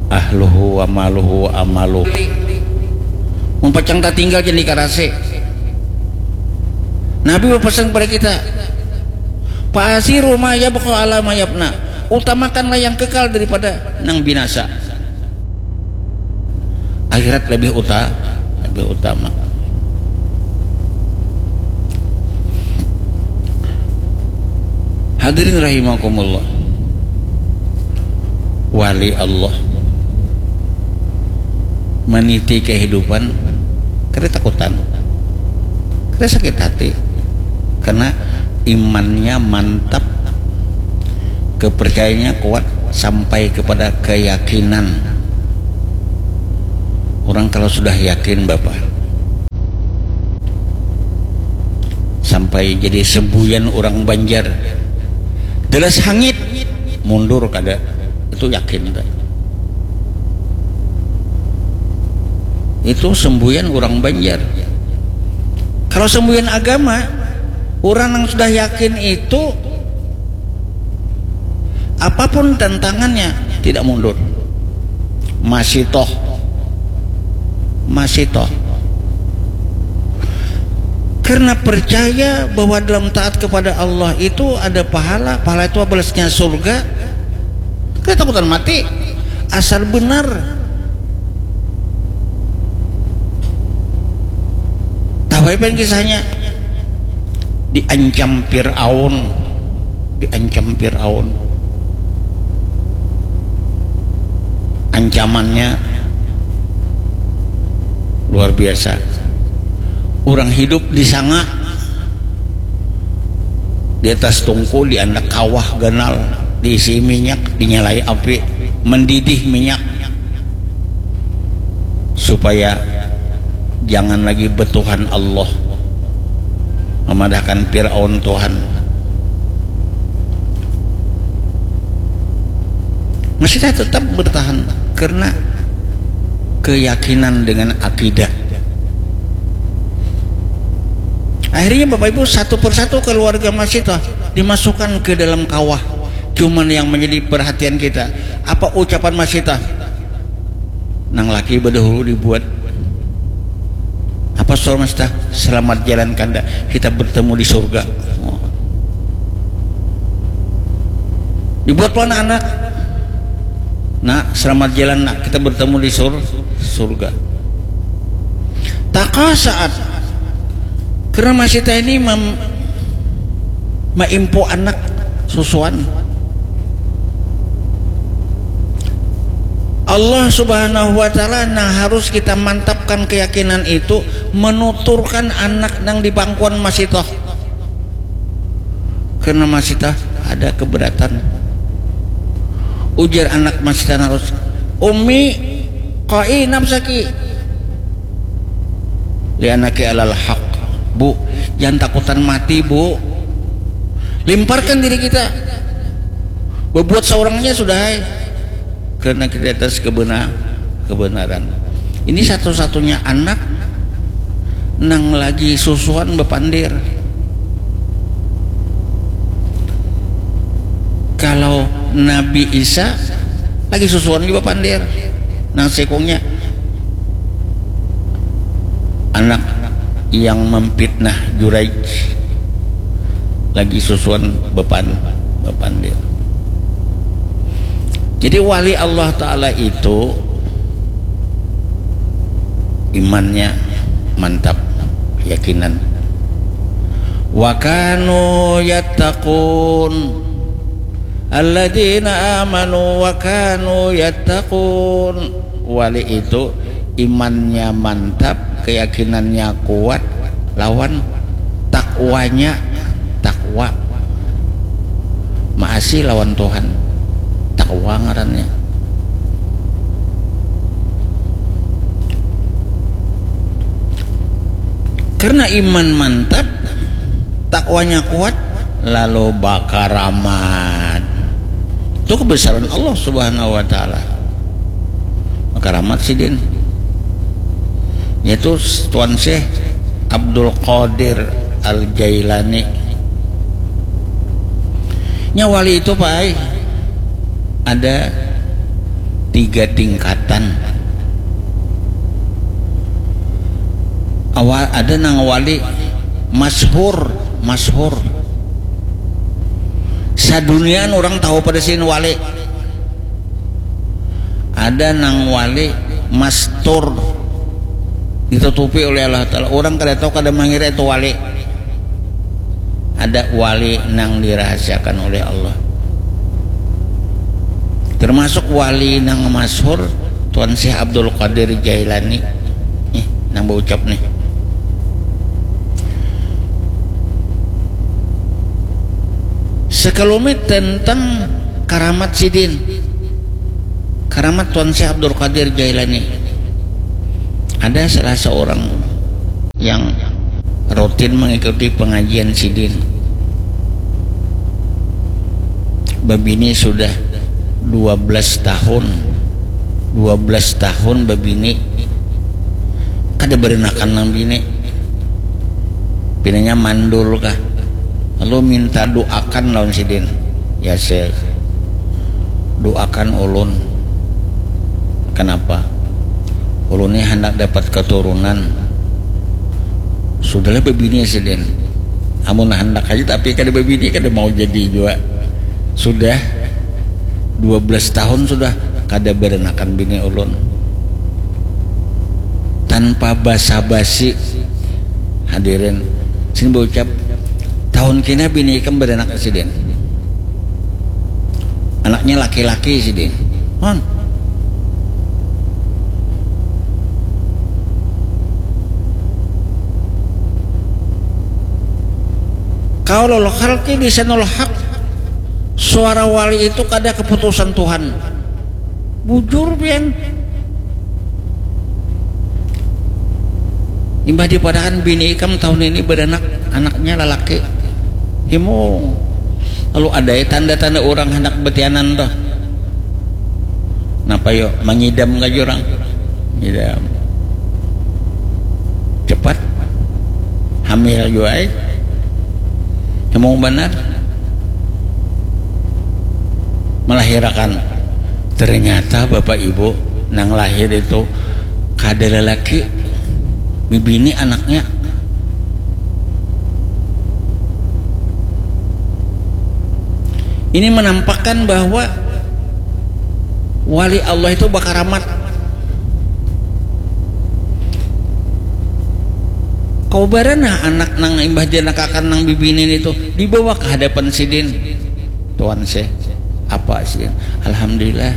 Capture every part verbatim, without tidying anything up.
Ahluhu wa maluhu wa amaluhu. Mun pacang tatinggal jadi karasi. Nabi berpesan kepada kita, "Fa'asiru ma yabqa ala ma yabna." Utamakanlah yang kekal daripada nang binasa. Akhirat lebih uta lebih utama. Hadirin rahimakumullah. Wali Allah meniti kehidupan kada takutan, kada sakit hati, karena imannya mantap, kepercayaannya kuat sampai kepada keyakinan. Orang kalau sudah yakin, Bapak, sampai jadi sembuyan orang Banjar, jelas hangit, mundur kada, itu yakin. Itu sembuyan orang Banjar. Kalau sembuyan agama, orang yang sudah yakin itu, apapun tantangannya, tidak mundur. Masih toh. Masih toh. Karena percaya bahwa dalam taat kepada Allah itu ada pahala, pahala itu balasnya surga. Kada takutan mati. Asal benar. Tahu apa yang kisahnya? Diancam Fir'aun. Diancam Fir'aun. Ancamannya luar biasa. Orang hidup disanga di atas tungku, di anak kawah ganal, diisi minyak, dinyalai api, mendidih minyak, supaya jangan lagi betuhan Allah, memadahkan Firaun Tuhan. Masih tetap bertahan karena keyakinan dengan akidah. Akhirnya Bapak Ibu, satu persatu keluarga Masita dimasukkan ke dalam kawah. Cuman yang menjadi perhatian kita, apa ucapan Masita? Nang laki bedahulu dibuat. Apa suara Masita? Selamat jalan kanda, kita bertemu di surga. Dibuat pula anak-anak. Nak, selamat jalan nak, kita bertemu di sur surga. Taka saat, karena Masita ini mem maimpu anak susuan. Allah Subhanahu wa Ta'ala nang harus kita mantapkan keyakinan itu, menuturkan anak nang di pangkuan Masita. Karena Masita ada keberatan. Ujar anak Masita harus, "Ummi, qai nafsaki. Lianaki alal haq." Bu, jangan takutan mati, Bu. Limparkan diri kita. Berbuat seorangnya sudah, hai. Karena kita atas kebenar kebenaran. Ini satu-satunya anak nang lagi susuan bepandir. Kalau Nabi Isa lagi susuan juga pandir. Nang sekongnya anak yang memfitnah Juraij lagi susuan bepan bepandir. Jadi wali Allah Ta'ala itu imannya mantap, keyakinan. Wa kanu yattaqun. Alladzina amanu wa kanu yattaqun. Wali itu imannya mantap, keyakinannya kuat, lawan takwanya, takwa. Maasi lawan Tuhan. Takwa ngarannya. Karena iman mantap, takwanya kuat, lalu bakaramat. Itu kebesaran Allah Subhanahu wa Ta'ala. Bakaramat sidin, yaitu Tuan Syekh Abdul Qadir Al Jailani. Nya wali itu, Pak ai, ada tiga tingkatan. Awal ada nang wali masyhur, masyhur. Sadunian orang tahu pada sin wali. Ada nang wali mastur, ditutupi oleh Allah Ta'ala. Orang kada tahu, kada mangira itu wali. Ada wali nang dirahasiakan oleh Allah. Termasuk wali nang masyhur Tuan Syekh Abdul Qadir Jailani. Nih, nang baucap nih. Sekelumit tentang karamat sidin. Karamat Tuan Syekh Abdul Qadir Jailani. Ada salah seorang yang rutin mengikuti pengajian sidin. Babini sudah dua belas tahun. Dua belas tahun babini. Kada berenakan nang bini. Pinanya mandul kah. Lalu minta doakan lawan sidin. Ya Syekh, doakan ulun. Kenapa? Ulun ni handak dapat keturunan. Sudahlah babini sidin. Amun handak aja tapi kada babini, kada mau jadi jua. Sudah dua belas tahun sudah kada berenakan bini ulun. Tanpa basa-basi, hadirin, sini baucap, tahun kina bini ikam berenak sidin. Anaknya laki-laki sidin. Hon. Qaulul haqqi lisanul haq. Suara wali itu kada keputusan Tuhan. Bujur pian. Imbah dipadakan bini ikam tahun ini beranak, anaknya lalaki. Himung. Lalu ada ya tanda-tanda orang hendak betianan tuh. Napa yo mangidam ka jurang? Ngidam. Cepat. Hamil jua ai. Himung banar. Melahirakan. Ternyata bapak ibu nang lahir itu kada lelaki, bibini anaknya. Ini menampakkan bahwa wali Allah itu bakaramat. Kau barana anak nang imbah dianakakan nang bibini itu dibawa ke hadapan sidin. Tuan Syekh, apa sih? Alhamdulillah.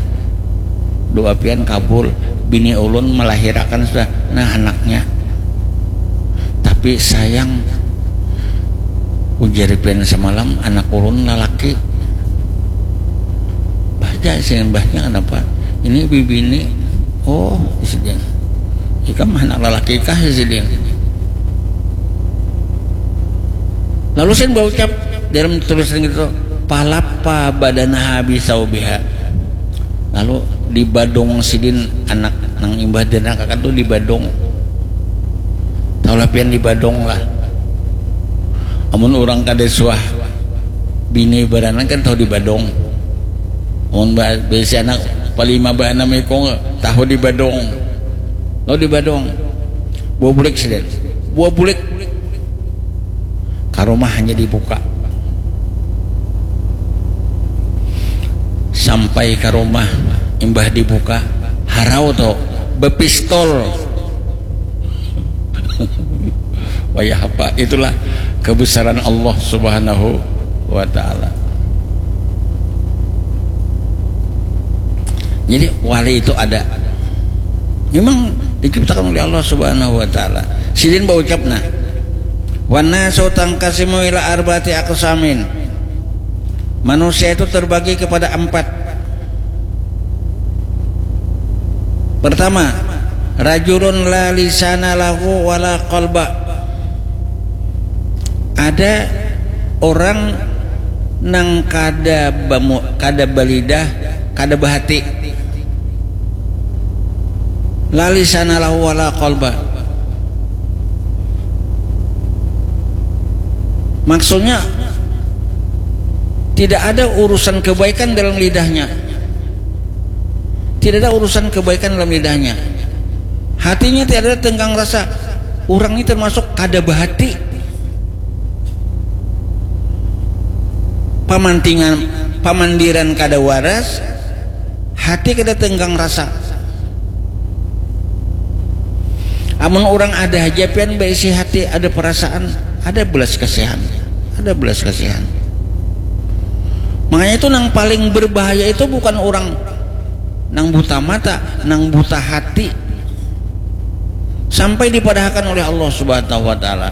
Doa pian kabul. Bini ulun melahirakan sudah. Nah, anaknya. Tapi sayang, ujar pian semalam anak ulun lalaki. Bahja sih, bahnya kenapa? Ini bibini. Oh, sidin. Ikam anak lalaki kah sidin? Lalu saya baucap dalam tulisan gitu, palapa badanaha bisaubiha. Lalu dibadung sidin anak nang imbah dianakakan tuh dibadung. Tahulah pian dibadung lah. Amun orang kada suah bini baranak kan tahu dibadung. Amun ba- bisi anak palima baanam ikung tahu dibadung. Lalu dibadung. Buah bulik sidin. Buah bulik. Ka rumah hanya dibuka. Sampai ka rumah, imbah dibuka, harau tu, bepistol. Wayah apa? Itulah kebesaran Allah Subhanahu wa Ta'ala. Jadi wali itu ada. Memang diciptakan oleh Allah Subhanahu wa Ta'ala. Sidin baucap nah. Wanasu tangkasimu ila arbati aqsamin. Manusia itu terbagi kepada empat. Pertama, rajulun la lisana lahu wala qalba. Ada orang nang kada bamu, kada balidah, kada bahati. La lisana lahu wala qalba. Maksudnya tidak ada urusan kebaikan dalam lidahnya. Tidak ada urusan kebaikan dalam lidahnya. Hatinya tiada tenggang rasa. Orang ini termasuk kada bahati. Pamantingan, pamandiran kada waras, hati kada tenggang rasa. Amun orang ada haja pian baisi hati, ada perasaan, ada belas kasihan, ada belas kasihan. Makanya itu nang paling berbahaya itu bukan orang nang buta mata, nang buta hati. Sampai dipadahakan oleh Allah Subhanahu wa Ta'ala,